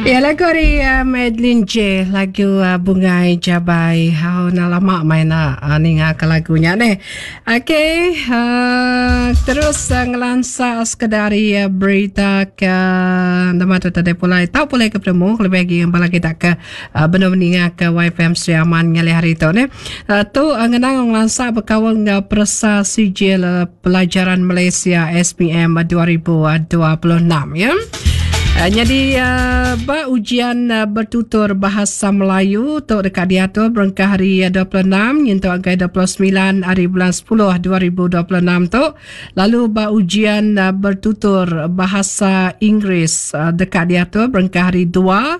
Ya lagu ari uh, Madeline J lagu uh, Bungai Jabai. Hau na lama mai na uh, ninga ke lagu nya deh. Okey, uh, terus uh, ngelansa sekedar ari uh, berita ke nama tu tadi pulai tau pulai ke petemu lebih lagi bala kita ke uh, benung ninga ke YFM Sri Aman ngalih hari tu ne. Uh, tu uh, ngenang ngelansa bekaul enggau peresa sijil uh, Pelajaran Malaysia SPM 2026 ya. Uh, jadi uh, ba ujian uh, bertutur bahasa Melayu tu dekat diatur berengkah hari 26 nyentuk agai 29 hari bulan 10 2026 tu. Lalu ba ujian uh, bertutur bahasa Inggeris uh, dekat diatur berengkah hari 2 uh,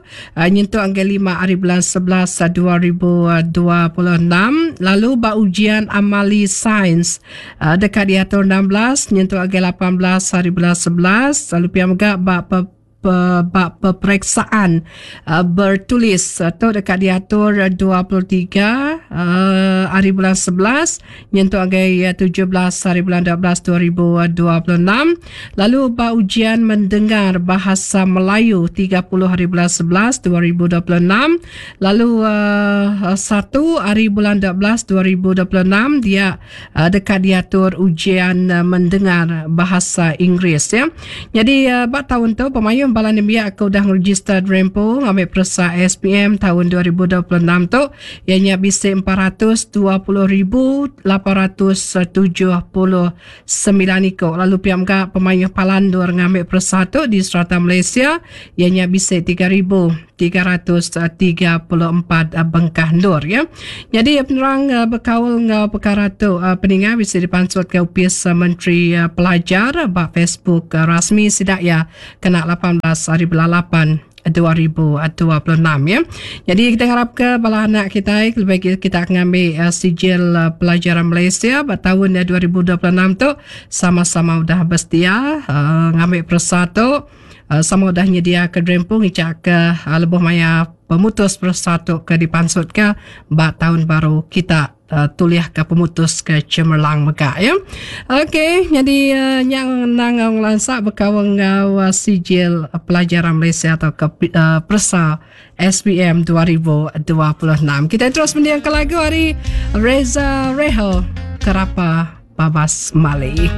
nyentuk agai 5 hari bulan 11 2026. Lalu ba ujian amali sains Deka diatur 16 nyentuk agi 18 hari bulan 11 lalu pia mega ba pe, pe, ba peperiksaan uh, bertulis tu deka diatur 23 uh, hari bulan 11 nyentuk agi 17 hari bulan 12 2026 lalu ba ujian mendengar bahasa Melayu 30 hari bulan 11 2026 Lalu uh, 1 hari bulan 12 2026 dia uh, deka diatur ujian uh, mendengar bahasa Inggeris ya. Jadi uh, ba taun tu pemayuh bala nembiak ke udah ngeregister Drempo ngambi peresa SPM taun 2026 tu iya nya bisi 420,879 iku lalu pia mega pemayuh palan endur ngambi peresa tu di serata Malaysia iya nya bisi 3,334 bengkah endur ya. Nyadi penerang bekaul enggau pekara tu peninga bisi dipansutka Opis Menteri Pelajar ba Facebook rasmi sida iya kena 18 hari bulan 8 2026 ya. Jadi kita ngarapka bala anak kitai kelebih agi kita ngambi sijil pelajaran Malaysia ba taun 2026 tu sama-sama udah besedia ngambi peresa tu. Sama udah nyediaka diri empu ngichaka lebuh maya pemutus peresa tu ke dipansutka ba taun baru kita tulihka pemutus ke cemerlang mega ya. Okey nyadi nya nang ngelansa bekaul enggau sijil pelajaran Malaysia tauka peresa SPM 2026. Kita terus mendingka lagu ari Reza Reho Kerapa Babas Mali.